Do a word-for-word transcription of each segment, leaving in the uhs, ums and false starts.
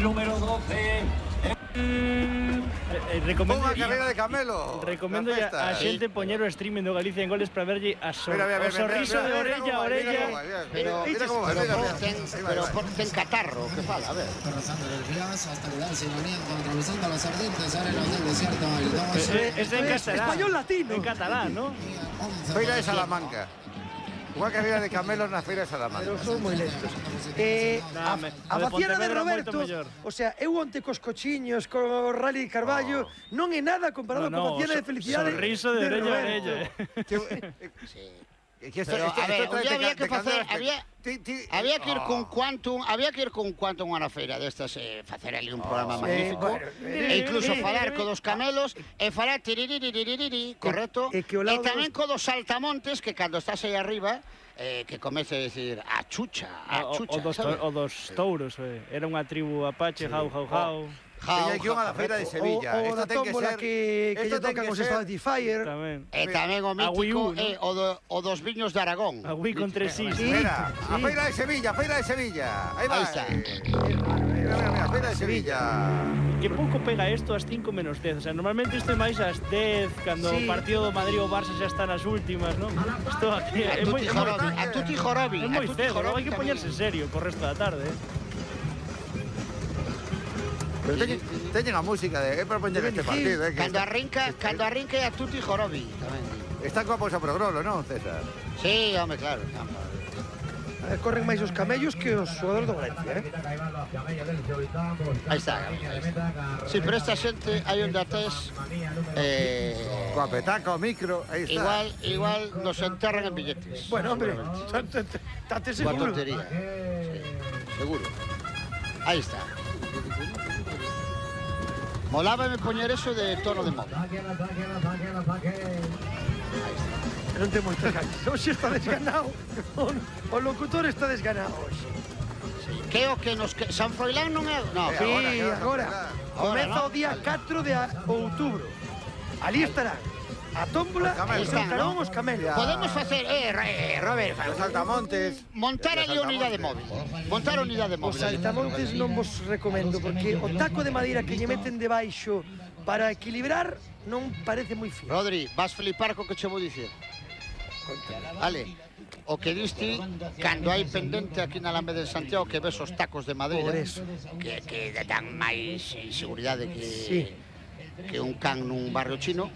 el número doce. Eh, recomendo Unha carreira de camelo. Recomendo a xente poñer o streaming do Galicia en Goles para verlle a so, mira, mira, o sorriso mira, mira, de mira orella a cómo va, orella. mira cómo va, mira, Pero, mira cómo va, pero, mira, por mira. ten, Ahí va, pero ahí va. por ten catarro, que fala, a ver. Pasando el Frías hasta cuidar sin aliento, atravesando los ardientes arenas del desierto. El dos, Es, es en catalán. Español latino. En catalán, ¿no? Feira de Salamanca. Unha carreira de camelos na Feira de Salamanca. Pero son moi lentos. Eh, Nah, a, me- a o de vaciana de Pontevedra Roberto, moito mellor. o sea, eu onte cos cochiños, co Rally Carballo, non é nada comparado No, no, coa vaciana de so- felicidade sorriso de orella a Roberto. orella. Que, Sí. que esto, Pero, esto, a ver, esto un trae día de había ca- que de facer, candelas había- pe- ti- ti- Había que ir Oh. con Quantum, había que ir con Quantum a unha feira destas e eh, facer ali un programa sí, magnífico bueno, e incluso eh, falar eh, co dos camelos e falar tiririririri, correcto? e que o E lado tamén dos- co dos saltamontes que cando estás aí arriba eh, que comece a decir a chucha, a O, chucha, o, dos, sabes? to- o dos touros, eh. Era unha tribu apache, jau, jau, jau. Jau, Teña que ir unha da Feira de correcto. Sevilla. O, o Esto da ten que tómbola ser- que, que esto lle ten tocan que os ser- Straty Fire. Tamén. E tamén o A Wii mítico U, ¿no? é o, do, o dos viños de Aragón. A Wii con tres is. Sí. Mira, a Sí. Feira de Sevilla, Feira de Sevilla. Ahí va. Ahí está. Mira, mira, mira, Feira de Sevilla. Que pouco pega isto ás cinco menos dez. O sea, normalmente isto é máis ás dez, cando Sí. o partido do Madrid ou Barça xa está nas últimas, ¿no? Isto aquí A é moi, tutti é moi, jorobi, a tutti jorobi, é a moi tutti cedo, logo hai jorobi que poñerse tamén. serio co resto da tarde, eh? Pero teñen, teñen a música de, é para poñer este partido. Eh, que Cando está, arrinca, cando arrinca é a tutti jorobi tamén. está coa pausa pro grolo, non, César? Sí, home, claro. A ver, corren máis os camellos que os xogadores do Valencia, eh? Aí está, aí está. Sí, pero esta xente hai onde atés eh, Coa petaca, o micro, aí está. igual, igual nos enterran en billetes. Bueno, hombre, tate Coa seguro. tontería. Sí, seguro. Aí está. Molábame poñer eso de tono de móvil. Non ten moitas ganas. Hoxe está desganado. O, o locutor está desganado hoxe. Sí. Que é o que nos... Que... San Froilán non é... No, Eh, Sí, agora, que agora. Ahora, Comeza ¿no? o día catro de a- outubro. Ali estarán a tómbola Os camelos. e sentarán ¿no? os camelos. podemos facer... Eh, eh, Robert, Os saltamontes. montar Os ali a unidade saltamontes. móvil. Montar a unidade Os móvil. saltamontes non vos recomendo porque o taco de madeira que lle meten debaixo para equilibrar non parece moi fino. Rodri, vas flipar co que che vou dicir. Vale, o que diste, cando hai pendente aquí na Alameda de Santiago que ves os tacos de madeira, Por eso. que, que dan máis inseguridade que, Sí. que un can nun barrio chino,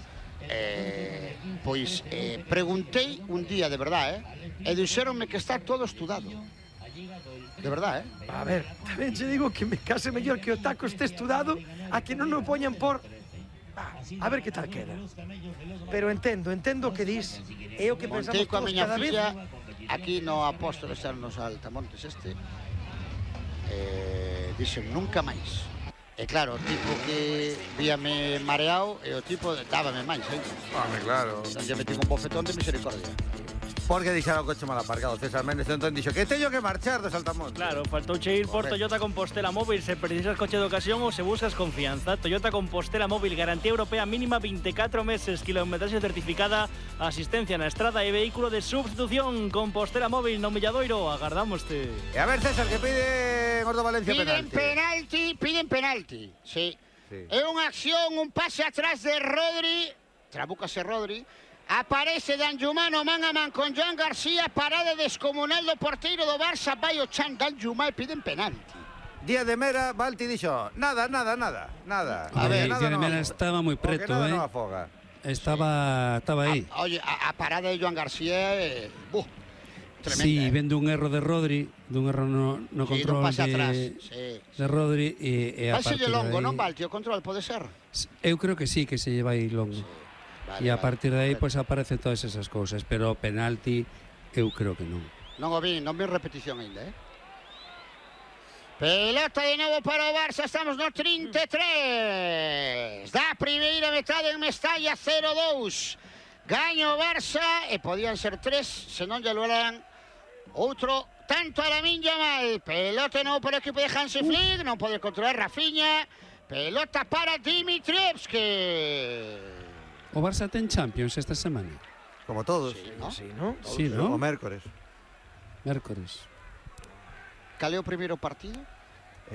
eh, pois eh, preguntei un día de verdade, eh, e dixéronme que está todo estudado. De verdade, eh? A ver, tamén che digo que me case mellor que o taco este estudado a que non o poñan por... Ah, a ver que tal queda. Pero entendo, entendo o que dis. É o que pensamos Montei coa todos miña cada vez. filla aquí no Apóstolo Externos Altamontes este. Eh, dixen nunca máis. E claro, o tipo que víame mareado e o tipo dábame máis, eh? Home, claro. Non lle metí un bofetón de misericordia. Porque deixaron o coche mal aparcado, César Méndez, entón dixo que teño que marchar do Saltamontes. Claro, faltouche ir por Toyota Compostela Móvil se precisas coche de ocasión ou se buscas confianza. Toyota Compostela Móvil, garantía europea mínima veinticuatro meses, kilometraxe certificada, asistencia na estrada e vehículo de substitución. Compostela Móvil no Milladoiro, agardámoste. E a ver, César, que pide Gordo Valencia Piden penalti. penalti, piden penalti. Sí. Sí. É unha acción, un pase atrás de Rodri, trabúcase Rodri, aparece Danjumano man a man con Joan García, parada descomunal do porteiro do Barça, vai o Chan Danjumá e piden penalti. Día de Mera, Balti dixo, nada, nada, nada, nada. A ver, nada Día de non Mera afoga. estaba moi Porque preto, nada eh. non afoga. Estaba, estaba aí. A, oye, a, a parada de Joan García é... Uh, tremenda. Sí, eh. vendo un erro de Rodri, dun erro no, no Sí, control non pase atrás. de, Sí. de Rodri e, e a Vai partir de longo, de aí, non, Balti? O control pode ser? Eu creo que sí, que se lle vai longo. Vale, E a vale, partir de aí, perfecto. pois, aparecen todas esas cousas. Pero penalti, eu creo que non. Non o vi, non vi repetición ainda, eh? Pelota de novo para o Barça, estamos no trinta e tres. Da primeira metade en Mestalla, cero dous. Gaña o Barça e podían ser tres, se non lle lograran outro tanto a Lamine Yamal. Pelota de novo para o equipo de Hansi Flick, non pode controlar Rafinha. Pelota para Dimitrievski. O Barça ten Champions esta semana. Como todos. Sí, ¿no? Sí, ¿no? Sí, O non? mércores. Mércores. Cal é o primeiro partido?